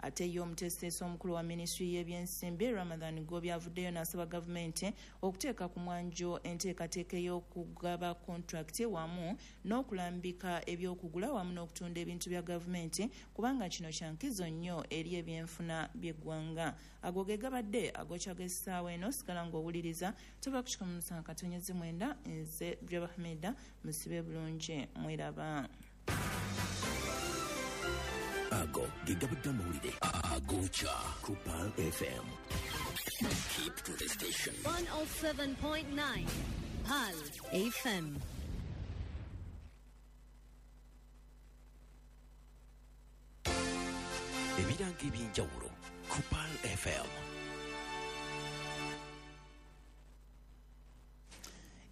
Ate ye omuteesiteesi omukulu wa minisitule y'ebyensimbi Ramadhan Gobi avuddeyo n'asaba gavumenti okuteeka ku mwanjo enteekateeka ey'okugaba kontrakiti wamu n'okulambika ebyokugula wamu n'okutunda ebintu bya gavumenti, kubanga kino kya nkizo nnyo eri ebyenfuna by'eggwanga. Ago ge gabadde agokya g'essaawa eno. Sigala ng'owuliriza tuva ku 107.9. Nze Breba Hamida, musibe bulungi, mweraba. Ago ge gabadde amawulire agokya ku Pearl FM. Keep to the station. 107.9 Pearl FM. Ebirango ebyenjawulo ku Pearl FM.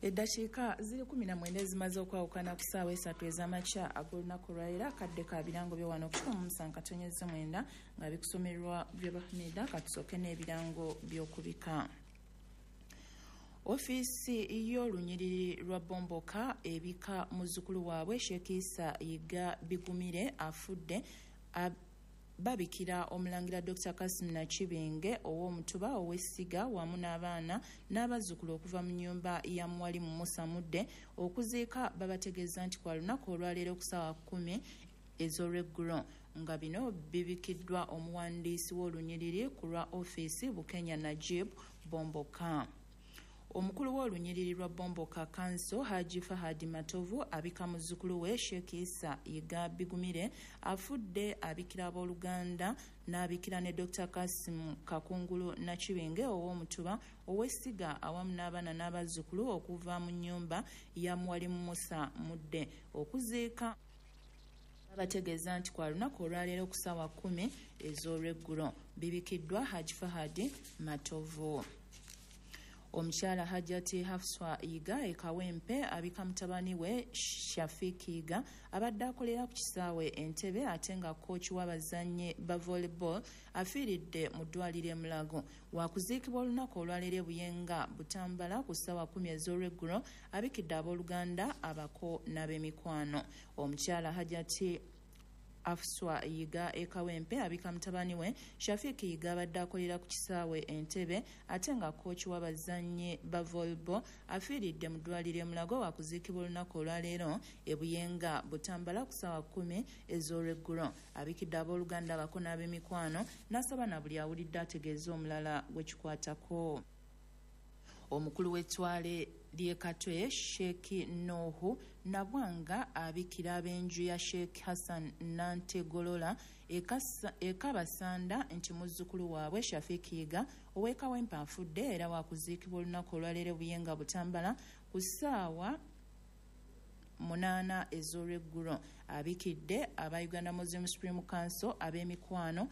Eddakiika ziri 19 zimaze okwawukana ku ssaawa 3 ez'amakya ag'olunaku olwaleero. Akadde ka birango byo wano ku 107.9 nga bikusomerwa Breba Hamida. Katusooke n'ebirango by'okubika. Ofiisi y'olunyiriri lwa Bomboka ebika muzzukulu waabwe Sheikh Isa Yiga Bigumire afudde babikira omulangira Dr. Kasim Nakibinge ow'omutuba ow'essiga wamu n'abaana n'abazzukulu okuva mu nnyumba ya Mwalimu Musa Mudde. Okuziika babategeeza nti kwa lunaku olwaleero ku ssaawa 10 ez'olweggulo, nga bino bibikiddwa omuwandiisi w'olunyiriri ku lwa ofiisi Bukenya Najib Bomboka. Omukulu w'olunyiriri lwa Bomboka Council Haji Fahadi Matovu abika muzzukulu we Sheikh Isa Yiga Bigumire afudde abikira abooluganda n'abikira ne Dr. Kasim Kakungulu Nakibinge ow'omutuba ow'essiga awamu n'abaana n'abazzukulu okuva mu nnyumba ya Mwalimu Musa Mudde. Okuziika babategeeza nti kwa lunaku olwaleero ku ssaawa 10 ez'olweggulo. Bibikiddwa Haji Fahadi Matovu. Omukyala Hajati Hafswa Yiga e Kawempe abika mutabani we Shafiki Yiga abadde akolera ku kisaawe Entebbe ate nga kooki w'abazannyi ba volleyball afiiridde mu ddwaliro e Mulago. Wakuziikibwa olunaku olwaleero e Buyenga Butambala ku ssaawa 10 ez'olweggulo. Abikidde abooluganda, abako n'ab'emikwano. Omukyala Hajati Afswa Yiga e Kawempe abika mutabani we Shafiki Yiga abadde akolera ku kisaawe Entebbe ate nga kooki w'abazannyi ba volleyball afiiridde mu ddwaliro e Mulago. Wakuziikibwa olunaku olwaleero e Buyenga Butambala ku ssaawa 10 ez'olweggulo. Abikidde abooluganda, abako n'ab'emikwano n'asaba na buli awulidde ategeeze omulala gwe kikwatako. Omukulu w'ettwale ly'e Katwe Sheikh Nuhu Nabwanga abikira ab'enju ya Sheikh Hassan Nantegolola e Kabasanda nti muzzukulu waabwe Shafiki Yiga ow'e Kawempe afudde era wakuziikibwa olunaku olwaleero Buyenga Butambala ku ssaawa 8 ez'olweggulo. Abikidde aba Uganda Muslim Supreme Council, ab'emikwano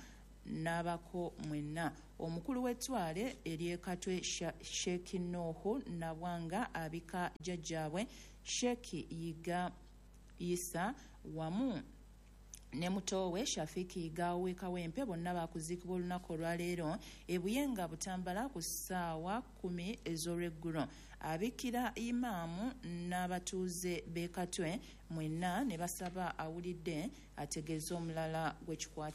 n'abako mwenna. Omukulu w'ettwale ery'e Katwe Sheikh Nuhu Nabwanga abika jjajjaabwe Sheikh Yiga Isa wamu ne muto we Shafiki Yiga ow'e Kawempe bonna bakuziikibwa olunaku olwaleero e Buyenga Butambala ku ssaawa 10 ez'olweggulo. Abikkira imaamu n'abatuuze b'e Katwe mwenna ne basaba awulidde ategeeze omulala gwe kikwata.